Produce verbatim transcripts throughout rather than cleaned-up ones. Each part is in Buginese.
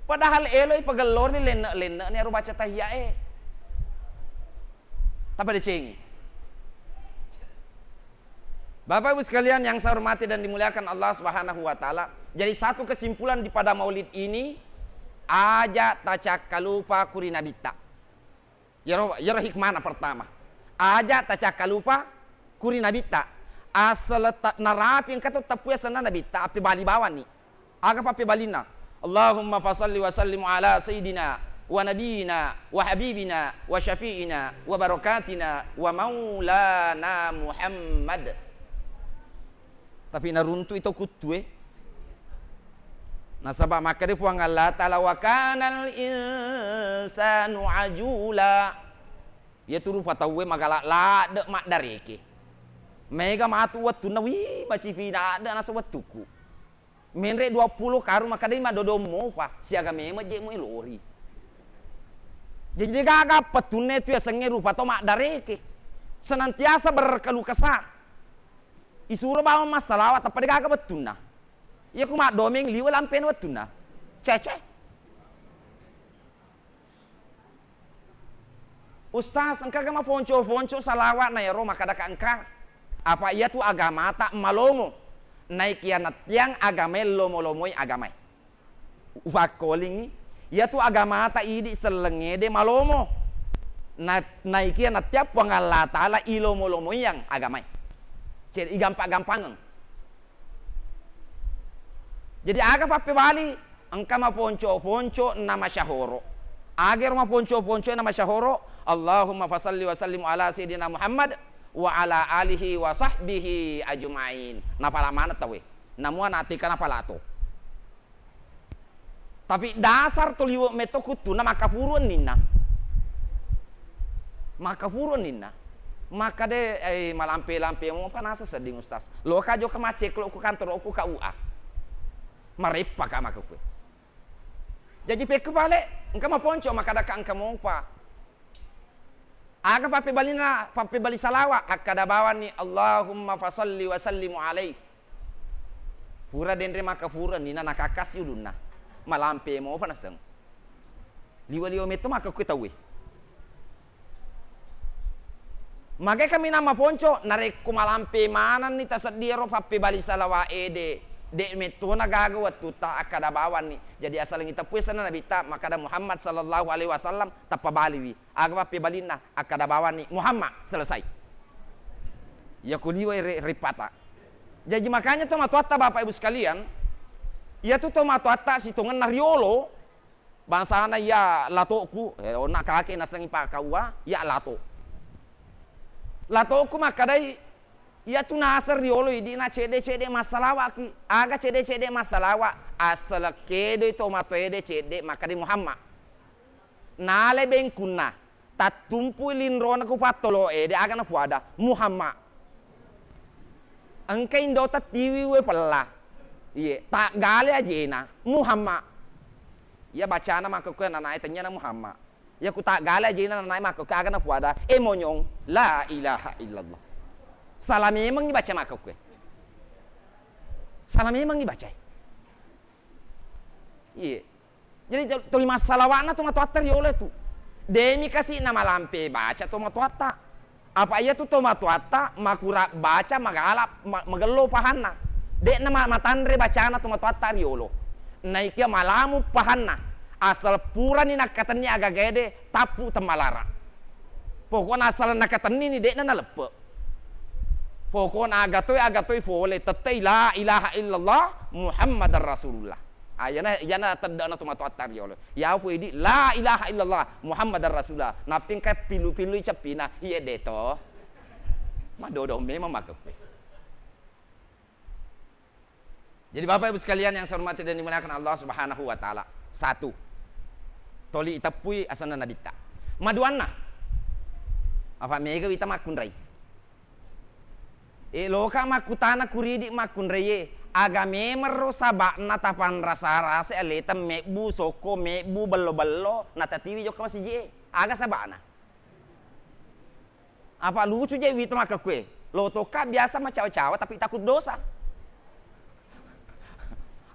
Padahal eloi pagellori lenne'-lenne'ni aro baca tahiyyae. Tapadecengi. Bapak Ibu sekalian yang saya hormati dan dimuliakan Allah Subhanahu wa Ta'ala, jadi satu kesimpulan di pada maulid ini, aja tacakkalupa kuri nabitta. Iyaro, iyaro hikmana pertama. Aja tacakkalupa kuri nabitta. Asal ta-, narapi engka to teppu asenna nabitta, appebali bawanni. Aga pappebalinna? Allahumma fasalli wa sallim ala sayyidina wa nabiyina wa habibina wa syafi'ina wa barakatina wa maulana Muhammad. Tapi naruntu'i to kuttue. Nasaba makkeda Puang Allah Ta'ala, "Wa kanal insanu ajula." Iyatu rupa tauwe magala ladde maddareke. Mega matu wettunna, "Wih, macipina adde nasa wettuku." Menre dua puluh karung makkeda madodong mopa, siaga memeng je mu lori. Jadi degaga pettunna tu yasengnge rupa tau maddareke. Senantiasa berkeluh kesah. Isuro bawang massalawat, tappa degaga wettunna. Iya ku maddomeng liwe lampena wettunna. Cece. Ustaz, engkaga maponco-ponco salawat na iyaro makkadaka engka? Apa iyatu agamata malomo. Naikiya nattiang agamae lomo-lomoi agamae. Ufakkolingngi, iyatu agamata idi sellengngede malomo. Na-, naikiya nattiang Puang Allah Ta'ala ilomo-lomoiang agamae. Ced-, igampa-gampangeng. Jadi aga pappebali? Engka maponco-ponco na masyahoro. Agero maponco-ponco na masyahoro, Allahumma fasalli wa sallim ala sayyidina Muhammad wa ala alihi wa sahbihi ajma'in. Napala maneng tauwe. Namua natika napalato. Tapi dasar to liwe metto kuttuna makkafuru enninna. Makkafuru enninna. Makkade, eh, malampe-lampe mopa nasa sedding Ustaz. Loka jokka macceklo ku kantoro ku K U A. Mareppa ka makkukue. Jaji pekku pale, engka maponco makkadaka engka mopa. Aga pappebalina, pappebali salawa, akkada bawanni, "Allahumma fasalli wa sallimu alaih." Pura denre makkafuru enninna nakakkasi ulunna. Malampe mopa naseng. Liwa-liwa metto makkukue tauwe. Magai kaminang maponco, narekko malampe manenni taseddie ro pappebali salawa ede, de mettona gaga wettutta akkada bawanni. Jadi asalengngi teppu asenna nabitta makkada Muhammad sallallahu alaihi wasallam tappa baliwi. Aga pappebalinna? Akkada bawanni Muhammad, selesai. Iya ku liwai re-, rippata. Jaji makanya tomatoatta Bapak Ibu sekalian, iyatu tomatoatta sitongenna riolo, bangsana iya latoku, eh, onna kake nasengi pakkaua, iya lato. Latoku makkadai, iyatu naseng riolo idi na cedde-cedde massalawaki. Aga cedde-cedde massalawa? Assalekkedoi tomatoede cedde makkadai Muhammad. Nalai bengkunna, tattumpui linrona ku pattolo ede, aga nafuada? Muhammad. Engka indo tattiwi we pella. Iye, taggale ajena, Muhammad. Iya bacana makkukue nanae tennyana Muhammad. Iya ku taggale ajena nanae makkukue aga nafuada? E monyong, la ilaha illallah. Salah memengngi baca makkukue. Salah memengngi bacae. Iye. Jadi to-, toli massalawa'na tomatoatta riolo tu. Demi kasi namalampe baca tomatoatta. Apa iyatu tomatoatta makura baca magala ma-, magello pahanna. De'na ma-, matanre bacana tomatoatta riolo. Naikia malamu pahanna. Asal purani nakkatenni agagaede tappu temmalara. Pokokna asal nakatennini de'na naleppe. Pokokna agatoi, agatoi fole, tettei la ilaha illallah Muhammadar Rasulullah. Ah, iyana, iyana tedde'na tomatoatta riolo. Iya fu idi la ilaha illallah Muhammadar Rasulullah. Nappi engka pillu-pillui ceppina, iye deto. Madodong memang makkukue. Jadi Bapak Ibu sekalian yang saya hormati dan dimuliakan Allah Subhanahu wa Ta'ala. Satu. Toli iteppui asenna nabitta. Maduanna. Apa mega wita makkunrai. E, loka makkutana kuridi makkunraie, aga memerro saba'na tapanrasa-rasa aleta mebbu sokko, mebbu bello-bello, natatiwi jokka masiji e? Aga saba'na? Apa lucu je wita makkukue? Lo tokka biasa macawa-cawa tapi takut dosa.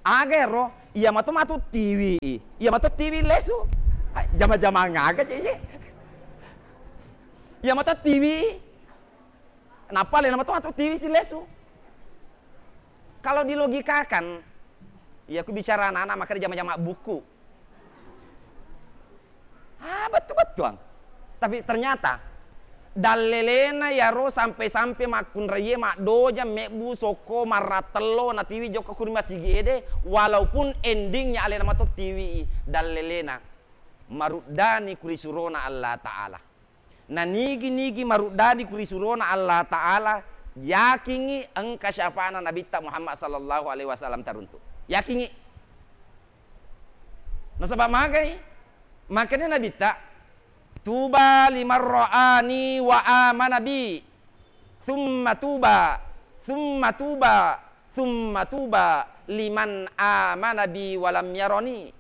Aga ero? Iya mato matu tiwi i. Iya mato tiwi lesu. Hai, jama-jamang aga je ye. Iya mato tiwi. Nappa alena mato matu tiwi si lesu. Kalau dilogikakan, iya ku bicara anak-anak makanya jama-jama buku. Ah, bettu-bettuang. Tapi ternyata dallelena yaro sampe-sampe makkunraie maddoja mebbu sokko marrattello natiwi jokka kuri masigi ede, walaupun endingnya alena mato tiwi i dallelena maruddani kuri surona Allah Ta'ala. Na nigi-nigi maruddani kuri surona Allah Ta'ala, yakingngi engka syafa'na Nabitta Muhammad sallallahu alaihi wasallam taruntu. Yakingngi. Nasaba magai, makanya Nabitta, "Tuba liman ra'ani wa amana bi, thumma tuba, thumma tuba, thumma tuba liman amana bi wa lam yarani."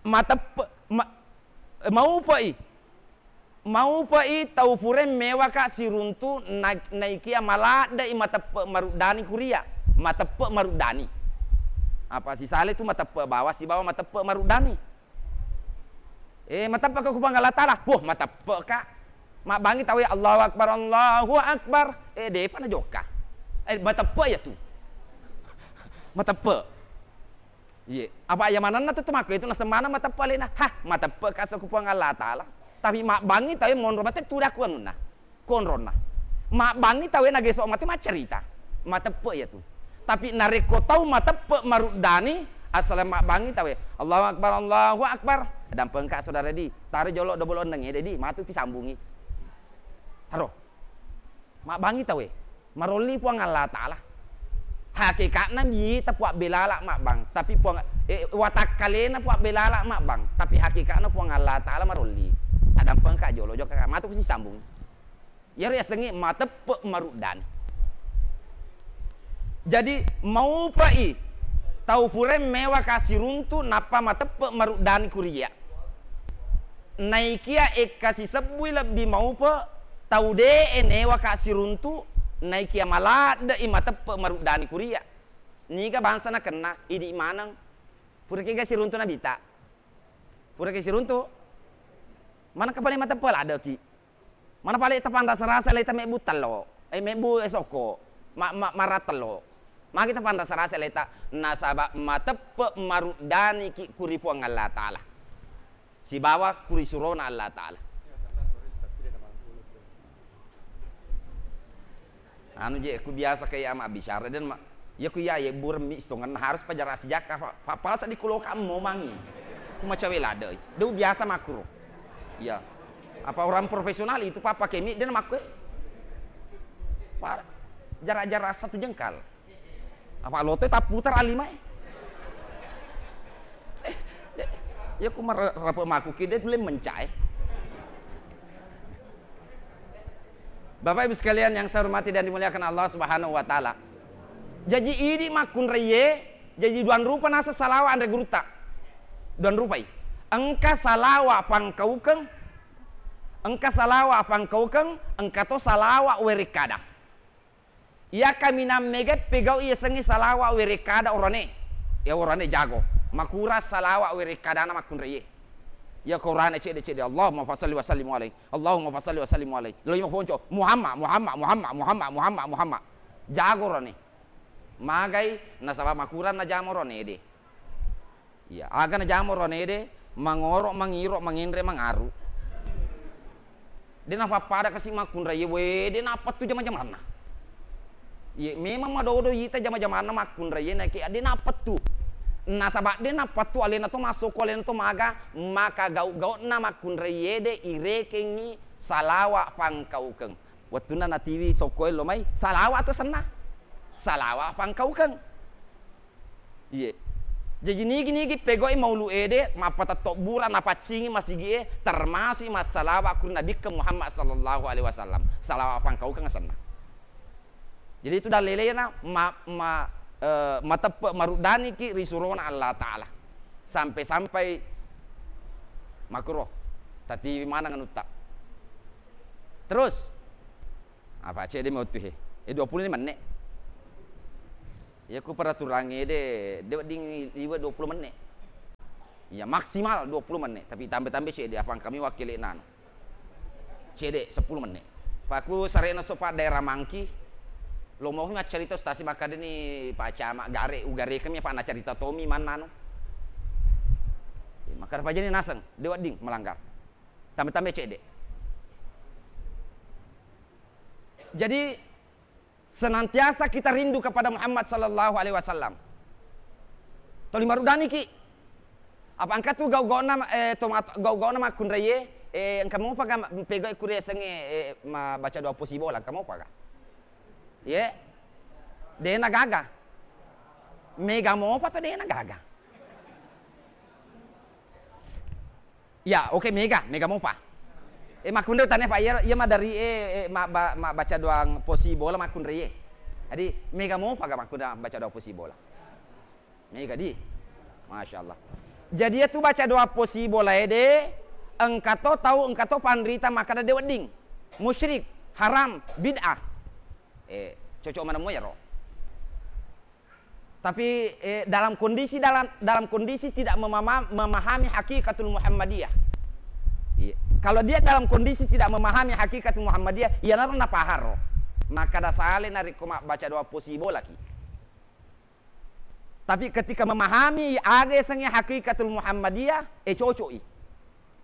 Mateppe-, ma-, maupe'i. Maupe'i tau purae mewaka siruntu na-, naikia maladde'i mateppe maruddani kuria. Mateppe maruddani. Apa sisale tu mateppe bawa sibawa mateppe maruddani. Eh, mateppeka ku Puang Allah Ta'ala. Wah, mateppeka. Mabbangi tau ya, "Allahu Akbar, Allahu Akbar." Eh, depa najokka. Eh, mateppe ya tu. Mateppe. Iye, apa iya manenna tu, tu makko itu nasemmana mateppe alena. Hah, mateppe kaso ku Puang Allah Ta'ala. Tapi mabbangi tau monro mate tu daku anunna. Konronna. Mabbangi tau nageso mate maccarita. Mateppe iya tu. Tapi narekko tau mateppe maruddani, assaleng mabbangi tau, "Allahu Akbar, Allahu Akbar." Dampengka saudara di, tare jolo dobol onneng ede di, matu pi sambungi. Haro. Mabbangi tauwe, marolli Puang Allah Ta'ala. Hakeka'na mita puabbelala mabbang, tapi Puang, eh, watakkalena puabbelala mabbang, tapi hakeka'na Puang Allah Ta'ala marolli. Addampengka jolo jokka, matu sisambung. Iyaro yasengnge mateppe maruddani. Jadi, maupai tau purae mewaka siruntu nappa mateppe maruddani kuria. Naikia ekka sisebbui lebbi maupe, tau de'e newaka siruntu, naikia maladde'i mateppe maruddani kuria. Niga bangsa nakenna, idi maneng. Pura kega siruntu nabita. Pura ke siruntu. Maneng kapale mateppe laddeki. Mana pale tapanrasa-rasa leta mebbu tello, eh, mebbu, eh, sokko, ma-, ma-, maratello. Magi tapanrasa-rasa leta, nasaba mateppe maruddaniki kuri Puang Allah Ta'ala. Sibawa kuri surona Allah Ta'ala. Anu je, ku biasa kayak ama bicara dan ma-, iya ku iya, iya burem mi istongenna harus pajara sijakka, pa-, pa-, pala seddi kuloka mo mangi. Ku macawe ladde. Deu biasa makuro. Iya. Apa orang profesional itu papa kemi dan makku. Pa-, jarak-jarak satu jengkal. Apa loto tapputar alimai. Eh, de-, ya ku mar-, rape maku ki de tulen mencai. Bapak Ibu sekalian yang saya hormati dan dimuliakan Allah Subhanahu wa Ta'ala. Jaji idi makkunraiye, jaji duang rupa naseng salawa anre gurutta. Duang rupai. Engka salawa pangkaukeng, engka salawa pangkaukeng, engka to salawa werekkada. Iya kaminang mega pegau iyasengnge salawa werekkada orane. Ya orane jago. Makura salawa werekkadana makkunraiye. Iya ko orane cedde-cedde, "Allahumma fasalli wa sallim alaihi. Allahumma fasalli wa sallim alaihi." Lo ima ponco, "Muhammad, Muhammad, Muhammad, Muhammad, Muhammad, Muhammad." Jago rone. Magai nasaba makurang najama rone de. Iya, aga najama rone de, mangoro, mangiro, mangenre, mangaru. De napappada kasi makkunraiye, we, de napettu jama-jamanna. Iye, memang madodo ita jama-jamanna makkunraiye, naiki de napettu. Nasaba de napettu alena to masoko, alena to maga, maka gau-gauna makkunraiye de irekengngi salawa pangkaukeng. Wettunna natiwi sokko ello mai, salawa to senna. Salawa pangkaukeng. Iye. Jaji nigi-nigi pegau'i maulu ede, mappatetto bura napaccingi masigi'e, termasuk massalawa ku Nabikke Muhammad sallallahu alaihi wasallam. Salawa pangkaukeng asenna. Jadi itu dallelena ma-, ma-, eh, mateppe maruddaniki ri surona Allah Ta'ala. Sampai-sampai makuro tatiwi maneng anutta. Terus, apa cedde mo tu he? Eh, dua puluh lima menit. Iya, ku peraturangnge de, de wedding liwe' dua puluh menit. Iya, maksimal dua puluh menit, tapi tambe-tambe cedde, apa engkami wakkele'na anu. Cedde sepuluh menit. Paku sarena sopa daerah Mangki, lomomi accarita ustasi makkadani Pak Camat gare, ugare kami apa nacarita tomi manna anu. Iya, makkada pajani naseng, de wedding melanggar. Tambe-tambe cedde. Jadi, senantiasa kita rindu kepada Muhammad sallallahu alaihi wasallam. Toli marudaniki. Apa engka tu gau-gauna, eh, tomat-, gau-gauna makkunraie, eh, engka mopa ga ma-, pegau kure sengnge, eh, ma baca doa posibola, engka mopa ga? Ye? Dena gaga. Mega mopa to dena gaga. Ya, oke, mega, mega mopa. Eh, makkunrai tane, Pak, iya, iya madari, eh, eh, ma-, ba-, ma-, baca doang posibola makkunrai, eh. Jadi, mega mopa ga makkunrai baca doa posibola? Mega di. Masya Allah. Jadi, itu baca doa posibola, eh, de, engka to tau, engka to panrita makkada de wedding. Musyrik, haram, bid'ah. Eh, cocok manemu ya, ro. Tapi, eh, dalam kondisi, dalam, dalam kondisi tidak memama-, memahami hakikatul Muhammadiyah. Iya. Kalau dia dalam kondisi tidak memahami hakikatul Muhammadiyah, iyanaro napaharo. Makkada sale narekko mabbaca doa posibolaki. Tapi ketika memahami aga yasengnge hakikatul Muhammadiyah, eh, cocok i.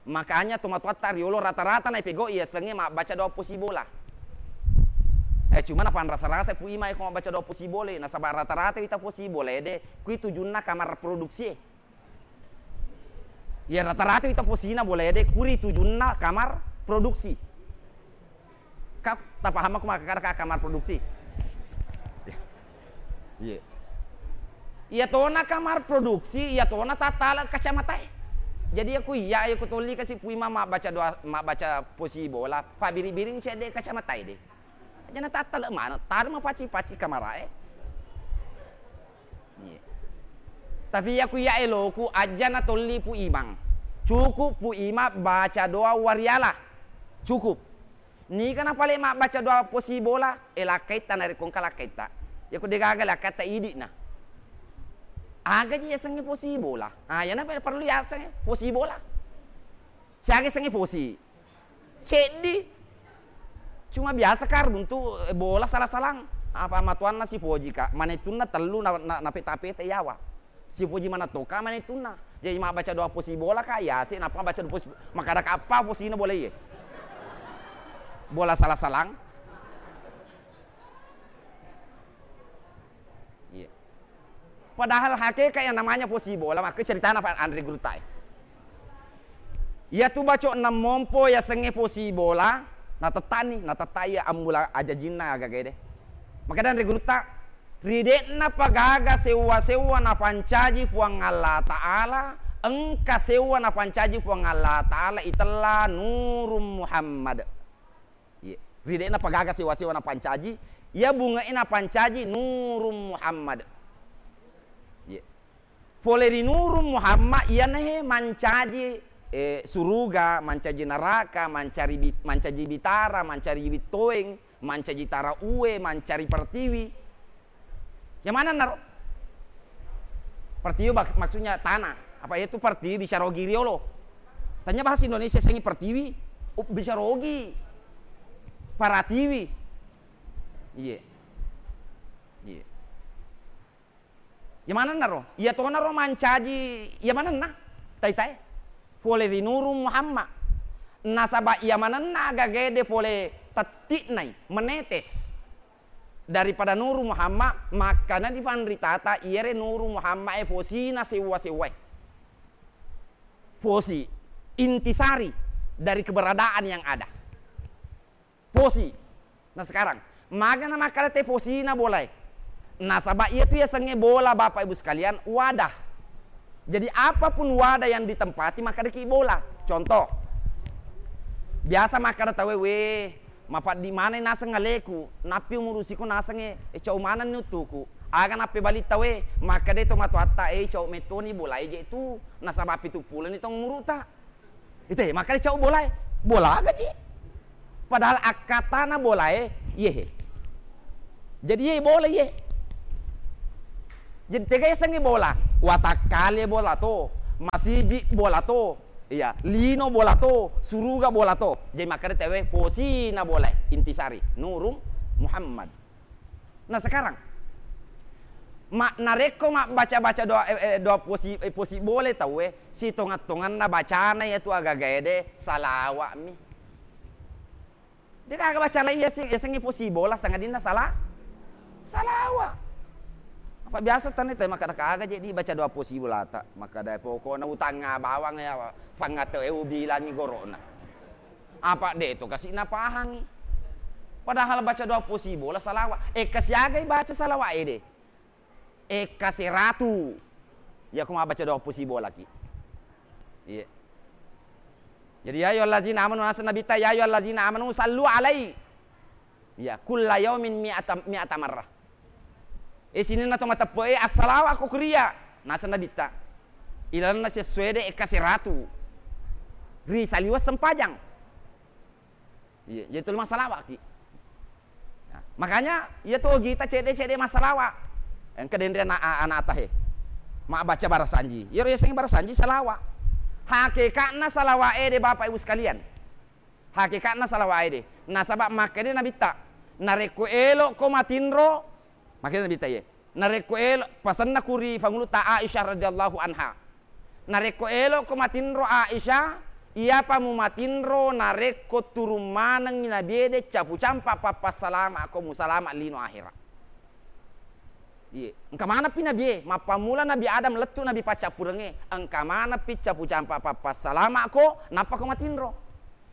Makanya tomatoatta riolo rata-rata naipegau i yasengnge mabbaca doa posibola. Eh, cuma napanrasa-rasa Pu Imang ko mabbaca doa posibola, nasaba rata-rata wita posibola ede, kui tujunna kamar produksi e. Iya, rata-rata wita posina bola ede, kuri tujunna kamar produksi. Ka, tapaham aku makkada ka kamar produksi? Iya. Iya tona kamar produksi, iya tona tattala kacamata e. Jadi aku iya, aku tolli kasi Pu Imang mabbaca doa, mabbaca posibola, pabiri-biring cedde kacamata e de. Aja natattala maneng, tarma paci-paci kamara e. Iya. Tapi iya ku iya eloku, aja natolli Pu Imang. Cukup Pu Imang baca doa wariala. Cukup. Niga napale mabbaca doa posibola, eh, lakkaitta narekko engka lakkaitta. Iya ku degaga lakkaitta idi'na. Aga ji yasengnge posibola. Ah, iyana perlu yasengnge posibola. Siaga yasengnge posi. Ceddi. Cuma biasa ka runtu, eh, bola sala-salang. Apa matuanna sipoji ka, manettunna tellu na, na, napeta-peta yawa. Sipoji manettoka manettunna. Jadi mabbaca doa posi bola ka, yase, napa baca doa posi, makkada ka apa posina bola iye. Bola sala-salang. Iya. Padahal hakikat yang namanya posi bola, makku ceritana Pak Andre Gurtai. Iya tu baco enam mompo yasengnge posi bola, natettani, natettai ambula ajajinna agagae de. Makkeda Andre Gurta, ridekna pagaga sewwa-sewwa napancaji Puang Allah Ta'ala, engka sewwa napancaji Puang Allah Ta'ala itella Nurung Muhammad. Iye. Ri de'na pagaga sewa-sewa napancaji, iya bunge'e napancaji Nurung Muhammad. Iye. Pole ri Nurung Muhammad, iyanahe mancaji, eh, suruga, mancaji naraka, mancari bi-, mancaji bitara, mancari bittoeng, mancaji tara ue, mancari pertiwi. Yang mana naro? Pertiwi bak-, maksudnya tanah. Apa itu pertiwi bisa rogi riolo? Tanya bahasa Indonesia sengi pertiwi, up-, bisa rogi. Paratiwi. Iye. Iye. Iya manenna ro? Iya tona ro mancaji, iya manenna? Tai-tai. Pole ri Nurung Muhammad. Nasaba iya manenna gagede pole tetti'nai, menetes. Daripada Nurung Muhammad, makkana di panritata, iyere Nurung Muhammad e posina sewwa-sewwae. Posi, intisari dari keberadaan yang ada. Posi. Nah, sekarang, magana makkada te posina bolae. Nasaba iya tu yasengnge bola, Bapak Ibu sekalian, wadah. Jadi, apapun wadah yang ditempati, makkadaki bola. Contoh, biasa makkada tauwe, "We, mapaddi maneng naseng aleku, nappi umurusiko nasengnge, eh, cau manenni uttuku." Aga nappebali tauwe, makkada to matoatta, "Eh, cau mettoni bolae je tu, nasaba pitu puloni taung umuruta." Ite, makkada cau bolae. Bola aga ji. Padahal akkatana bolae, iyehe. Jadi iye bola iye. Jadi tega yasengnge bola, watakkale bola to, masiji bola to, iya, lino bola to, suruga bola to. Jadi makkeda tauwe posina bola, intisari, Nurung Muhammad. Nah, sekarang, ma-, narekko mabbaca-baca doa, eh, eh, doa posi, eh, posi bola tauwe, sitongeng-tongenna bacana iyatu agagae de, salawa'mi. De gaga baca lai yaseng, yasengnge posi bola sangadinna sala-, salawa. Apa biasa tanni te makkeda kaga je dibaca doa posi bolata, makkeda pokokna utangnga bawang ya, pangngate e ubilangi gorona. Apa de to kasi napahangi. Padahal baca doa posi bola salawa. E, kasiagai baca salawa ede. Ekka seratu. Iya, ko mabbaca doa posi bolaki. Iya. Jadi, ya ayyuhallazina amanu, naseng Nabitta, ya ayyuhallazina amanu sallu alai. Iya, kulla yaumin mi'ata, mi'ata marrah. Eh, sininna to mateppe'e, assalawa ko kuria. Naseng Nabitta. Ilalenna sessuede ekka seratu. Ri saliweng sempajang. Iya, jadi tuli massalawa'ki. Nah, makanya iya to gita cedde-cedde massalawa. Engka denre ana-, a-, anata he. Mabbaca barasanji. Iyaro yasengnge barasanji salawa. Hakeka'na salawa ede, Bapak Ibu sekalian. Hakeka'na salawa ede. Nasaba makkeda Nabitta, narekko elokko matinro, makkeda Nabitta iye. Narekko elo-, pasenna ku ri fangulutta Aisyah radhiyallahu anha. Narekko elokko matinro Aisyah, iyapa mumatinro narekko turung manengngi Nabiede capu campa pappassalama'ko musalama lino ahera. Iye, engka manappi Nabie, mappammula Nabi Adam lettu Nabi paccappurengnge, engka manappi capu campa pappassalama'ko, nappako matinro.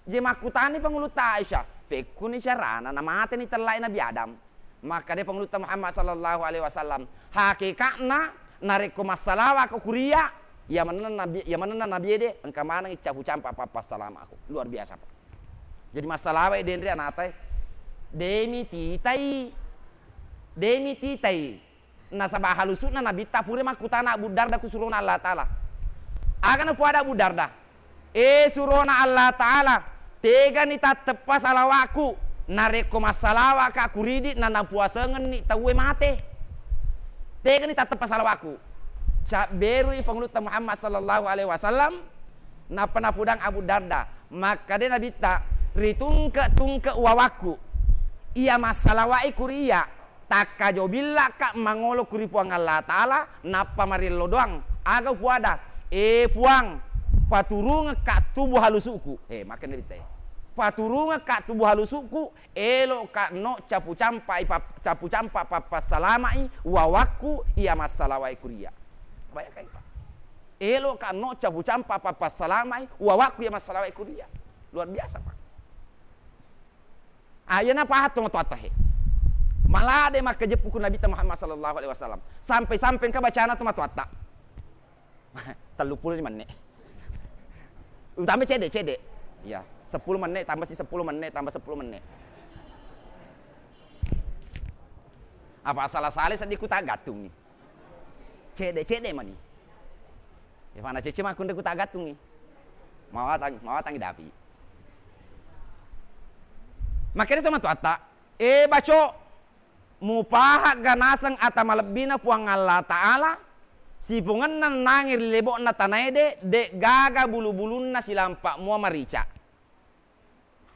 Je makkutani fangulutta Aisyah, fekkuni carana namateni tellae Nabi Adam. Makkeda Pangulutta Muhammad sallallahu alaihi wasallam, hakeka'na narekko massalawa'ko kuria, iya manenna nabi, iya manenna nabiede, engka maneng capu campa pappassalama'ko. Luar biasa, Pak. Jadi massalawa'i denre anatae. Demi titai. Demi titai. Nasaba halusu'na Nabitta pura makkutana Abu Darda ku surona Allah Ta'ala. Aga nafuada Abu Darda? E surona Allah Ta'ala, tegani tatteppa salawa'ku, narekko massalawa'ka kuridi nanapuasengenni tauwe mate. Tegani tatteppa salawa'ku. Cabberui Pangulutta Muhammad sallallahu alaihi wasallam, nappa napudang Abu Darda. Makkeda Nabitta, ritungke-tungke wawakku. Iya massalawa'i kuri iya. Takkajo billa'ka mangolo ku ri Puang Allah Ta'ala, nappa mariello doang. Aga ufuada? E Puang, paturungekka tubu halusu'ku. E, makkeda Nabitta e. Paturungekka tubu halusu'ku, elokka no capu campai pap-, capu campa pappassalama'i wawakku iya massalawai kuria. Bayangkan, Pak. Elokka no capu campa pappassalama'i wawakku iya massalawai kuria. Luar biasa, Pak. Ah, iyana pahang tomatoatta he. Malade makkajeppu ku Nabitta Muhammad sallallahu alaihi wasallam. Sampai-sampai engka bacana tomatoatta. Telluppulo lima menit. Utama cede, cede. Iya, seppulo menit tambah si seppulo menit tambah seppulo menit. Apa salah-salah seddi ku tagattungi. Cedde-cedde mani. Ya, fana cece makkunre ku tagattungi. Mawatang, mawatang dapi. Makkeda tomatoatta, e baco, mupahagga naseng ata malebbina Puang Allah Ta'ala, sipongenna nangi ri lebo'na tanaede, de gaga bulu-bulunna silampa mua marica.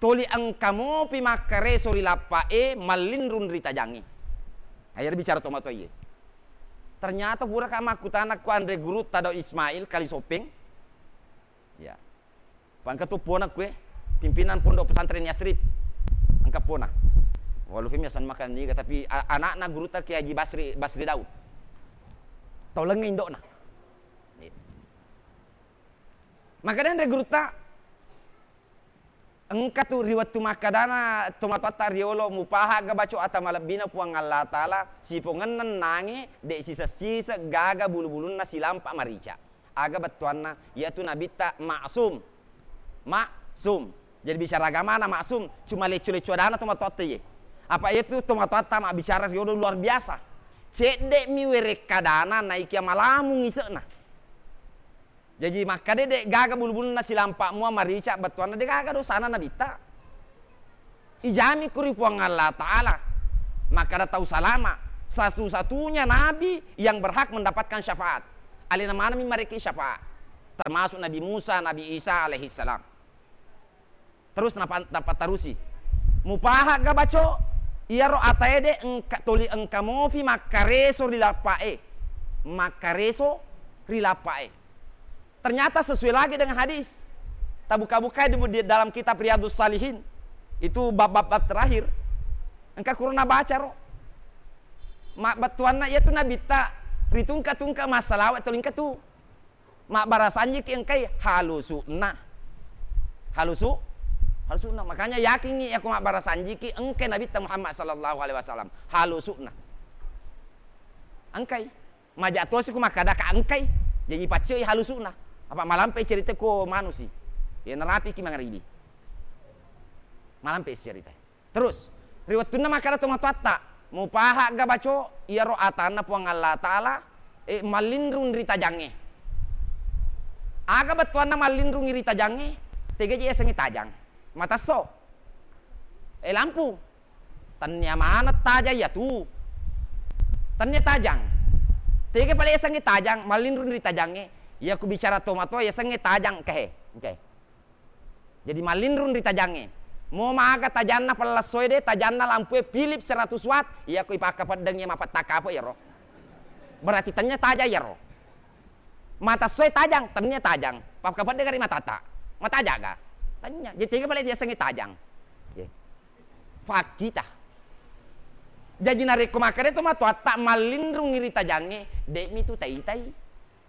Toli engka mopi makkareso ri lappa'e, mallinrung ri tajangnge. Aja bicara tomatoae. Ternyata puraka makkutana ku anre gurutta Daud Ismail Kalisopeng. Ya. Pangka tu pona kue, pimpinan Pondok Pesantren Yasrib. Engka pona. Walau fim yasan makan niga, tapi a-, anakna gurutta Kiai Haji Basri, Basri Daud. Tau lengnge indokna. Iya. Maka denre gurutta, Engka tu ri wettu makkadana tomatoatta riolo, mupahagga baco ata malebbina Puang Allah Ta'ala, sipongenna nangi de sisessiseng gaga bulu-bulunna silampa marica. Aga bettuanna? Iyatu Nabitta maksum. Maksum. Jadi bicara agamana maksum, cuma lecco-lecco adana tomatoatta ye. Apa iyatu tomatoatta mabbicara riolo luar biasa. Cedde'mi werekkadana naikia malamung ise'na. Jaji makkeda de gaga bulu-bulunna silampa mua marica, bettuanna de gaga dosana Nabitta. Ijami ku ri Puang Allah Ta'ala. Makkeda tau salama, Satu-satunya nabi yang berhak mendapatkan syafaat. Alena maneng mi marekki syafaat. Termasuk Nabi Musa, Nabi Isa alaihissalam. Terus napa-, napatarusi. Mupahagga baco, iyaro atae de engka, toli engka mopi makkareso ri lappa'e. Makkareso ri lappa'e. Ternyata sesuai lagi dengan hadis. Tabuka-bukai di, di dalam kitab Riyadhus Shalihin. Itu bab-bab, bab terakhir. Engka kuro nabaca ro. Mabbettuanna iyatu nabitta ritungka-tungka massalawa tolingka tu. Mabbarasanjiki engkai halusu'na. Halusu-, halusu'na. Makanya yakingngi yako mabbarasanjiki engkai Nabitta Muhammad sallallahu alaihi wasallam. Halusu'na. Engkai. Maja tosi ku makkada ka engkai. Jaji paccoi halusu'na. Apa malampe cerita ko manusi. Ya narapiki mangaribi. Malampe cerita. Terus, ri wettunna makkeda tomatoatta, mupahagga baco iyaro atanna Puang Allah Ta'ala, eh, mallinrung ri tajangnge. Aga bettuanna mallinrungi ri tajangnge? Tega je yasengnge tajang? Matesso. Eh, lampu. Tennia maneng tajang iyatu. Tennia tajang. Tega pale yasengnge tajang, mallinrung ri tajangnge? Iya ku bicara tomatoa yasengnge tajang, engkahe. Engkahe. Jadi mallinrung ri tajangnge. Mo maga tajanna pellessoe de, tajanna lampue Philips seratus watt, iyako ipakkapeddengngi mapettakapo iyaro. Berarti tennia tajang iyaro. Mata essoe tajang, tennia tajang. Pakkapeddeng ri matata. Matajaga. Tennia. Jadi tega pale yasengnge tajang. Ye. Fakkita. Jaji narekko makkeda tomatoatta mallinrungi ri tajangnge, de'mi tu taitai.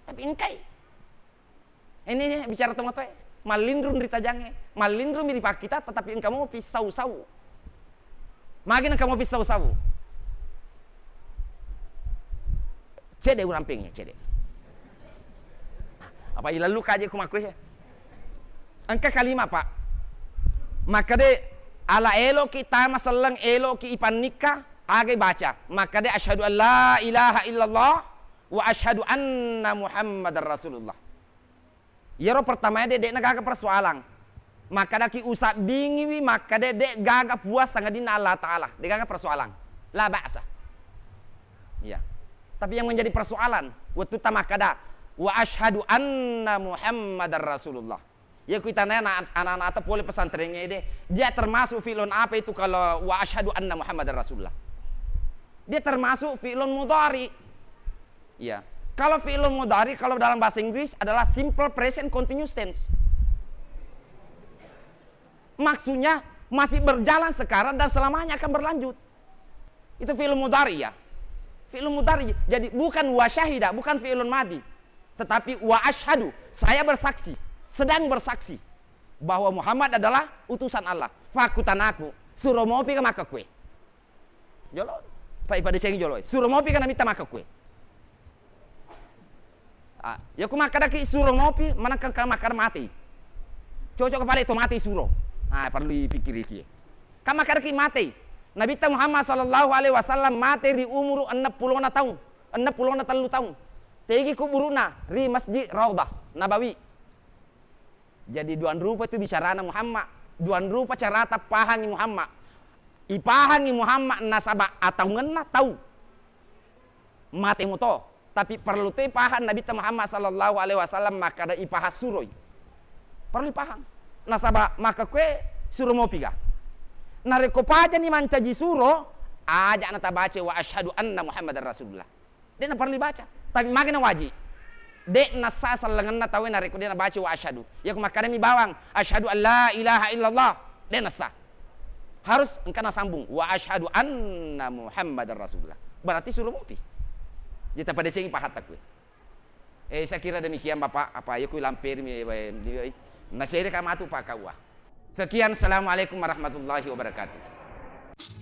Tapi engkai. Ini, ini bicara tomatoae, mallinrung ri tajangnge, mallinrung mi ri pakkita, tetapi engka mopi sau-sau. Magi engka mopi sau-sau? Cede urampengi, cede. Apa ilallu kaje ku makkue? Engka kalima, Pak. Makkade ala eloki tama selleng, eloki ipannikka, agai baca. Makkade asyhadu an la ilaha illallah wa asyhadu anna Muhammadar Rasulullah. Iyaro pertamae de, de'na gaga persoalan. Makkadaki usabbingiwi, makkade de gaga puang sangadinna Allah Ta'ala. De gaga persoalan. La ba'sa. Iya. Tapi yang menjadi persoalan, wettutta makkada, "Wa asyhadu anna Muhammadar Rasulullah." Iya ku itana ana-, anak-anak pole pesantrengnge de, dia termasuk fi'lun apa itu kalau "Wa asyhadu anna Muhammadar Rasulullah"? Dia termasuk fi'lun mudhari. Iya. Kalau fi'lun mudhari, kalau dalam bahasa Inggris adalah simple present continuous tense. Maksudnya, masih berjalan sekarang dan selamanya akan berlanjut. Itu fi'lun mudhari, ya. Fi'lun mudhari. Jadi, bukan wa syahida, bukan fi'lun madi. Tetapi wa asyhadu, saya bersaksi, sedang bersaksi bahwa Muhammad adalah utusan Allah. Fakkutanaku, suro mopi ka makkekue? Jolo, pa ipadecengi jolo. Suro mopi ka Nabitta makkekue? Ah, iya ku makkadaki suro mopi, manakka ka makkada matei. Cocok ka pale to matei suro. Ah, perlu ipikkiriki. Ka makkadaki matei. Nabitta Muhammad sallallahu alaihi wasallam mate ri umuru enneng pulona taung, enneng pulona tellu taung. Tegi kuburu'na ri Masjid Raudhah Nabawi. Jadi, duang rupa tu bicarana Muhammad, duang rupa carata pahangi Muhammad. Ipahangi Muhammad nasaba ataungenna tau mate muto, tapi perlu toi pahang Nabitta Muhammad sallallahu alaihi wasallam makkada ipahang suroi. Perlu ipahang. Nasaba makkekue suro mopiga. Narekko pajani mancaji suro, aja natabaca wa asyhadu anna Muhammadar Rasulullah. De' naparellu ibaca. Tapi magi nawaji? De' nassa sellengenna tauwe narekko de' nabaca wa asyhadu. Iya ku makkadami bawang, "Asyhadu an la ilaha illallah." De' nassa. Harus engka nasambung, "Wa asyhadu anna Muhammadar Rasulullah." Berarti suro mopi. Jadi tapadecengi pahatta kuwe. Eh, saya kira demikian, Bapak. Apa, iya ku lamperi mi, eh, eh, eh. Nasere ka matu, Pak, kaua. Sekian, assalamualaikum warahmatullahi wabarakatuh.